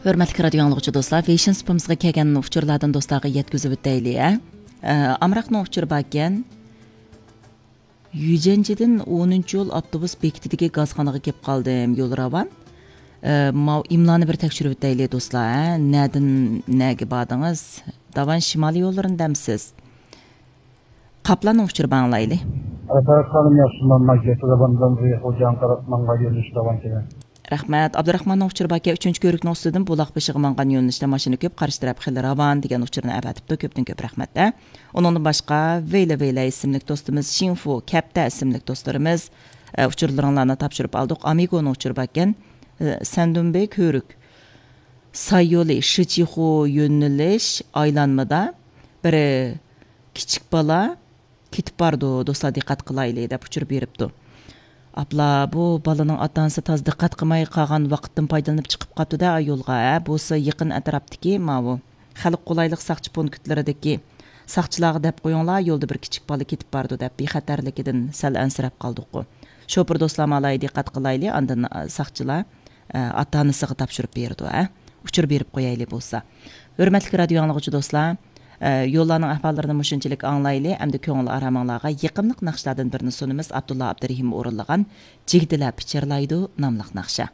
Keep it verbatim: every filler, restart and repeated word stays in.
ھۆرمەتلىك رادىيو ئاڭلىغۇچى دوستلار، فېشن سۇپىمىزغا كەلگەن ئۇچۇرلاردىن دوستلارغا يەتكۈزۈپ ئۆتەيلى، ھە؟ ئە، ئامراقنىڭ ئۇچۇرى باركەن. يۈزەنچىدىن ئونىنچى يول ئاپتوبۇس بېكىتىدىكى گازخانىغا كېلىپ قالدىم، يول راۋان. ئە، ماۋۇ ئىملانى بىر تەكشۈرۈپ ئۆتەيلى دوستلار، ھە؟ نەدىن نەگە باردىڭىز؟ داۋان شىمالىي يوللىرىنى دەمسىز؟ قاپلاننىڭ ئۇچۇرى بار، ئاڭلايلى. ئەسەت خانىم ياخشىمۇ؟ مەن گەتىدە باندىن خوجان تەرەپ ماڭغان يۆنىلىش داۋان كېلىڭ. رەھمەت. ئابدۇراخماننىڭ ئۇچۇرى باركەن، ئۈچىنچى كۆۋرۈكنىڭ ئۈستىدىن بۇلاق بېشىغا ماڭغان يۆنىلىشتە ماشىنا كۆپ، قارشى تەرەپ خېلى راۋان دېگەن ئۇچۇرنى ئەۋەتىپتۇ. كۆپتىن كۆپ رەھمەت-دە. ئۇنىڭدىن باشقا ۋېيلە ۋېيلە ئىسىملىك دوستىمىز، شىڭفۇ كەپتە ئىسىملىك دوستلىرىمىز، ئە، ئۇچۇرلىرىڭلارنى تاپشۇرۇپ ئالدۇق. ئامىگونىڭ ئۇچۇرى باركەن، ئە، سەندۇنبېي كۆۋرۈك ساييولى شىچىخۇ يۆنىلىش ئايلانمىدا بىر كىچىك بالا كېتىپ بارىدۇ، دوستلار دىققەت قىلايلى، دەپ ئۇچۇر بېرىپتۇ. ئاپلا، بۇ بالىنىڭ ئاتا-ئانىسى تازا دىققەت قىلماي قالغان ۋاقىتتىن پايدىلىنىپ چىقىپ قاپتۇ-دە، ئا يولغا، ھە؟ بولسا يېقىن ئەتراپتىكى ماۋۇ خەلق قولايلىق ساقچى پونكىتلىرىدىكى ساقچىلارغا دەپ قويۇڭلار، يولدا بىر كىچىك بالا كېتىپ بارىدۇ، دەپ بىخەتەرلىكىدىن سەل ئەنسىرەپ قالدۇققۇ. شوپۇر دوستلار، مالاي دىققەت قىلايلى، ئاندىن، ئا، ساقچىلار ئاتا-ئانىسىغا تاپشۇرۇپ بېرىدۇ، ھە؟ ئۇچۇر بېرىپ قويايلى بولسا. ھۆرمەتلىك رادىيو ئاڭلىغۇچى دوستلار، يوللارنىڭ ئەھۋاللىرىنى مۇشۇنچىلىك ئاڭلايلى، ئەمدى كۆڭۈل ئارامىڭلارغا يېقىملىق ناخشىلاردىن بىرنى سۇنىمىز، ئابدۇللا ئابدۇرېھىم ئورۇنلىغان جىگدىلەپ پىچىرلايدۇ ناملىق ناخشا.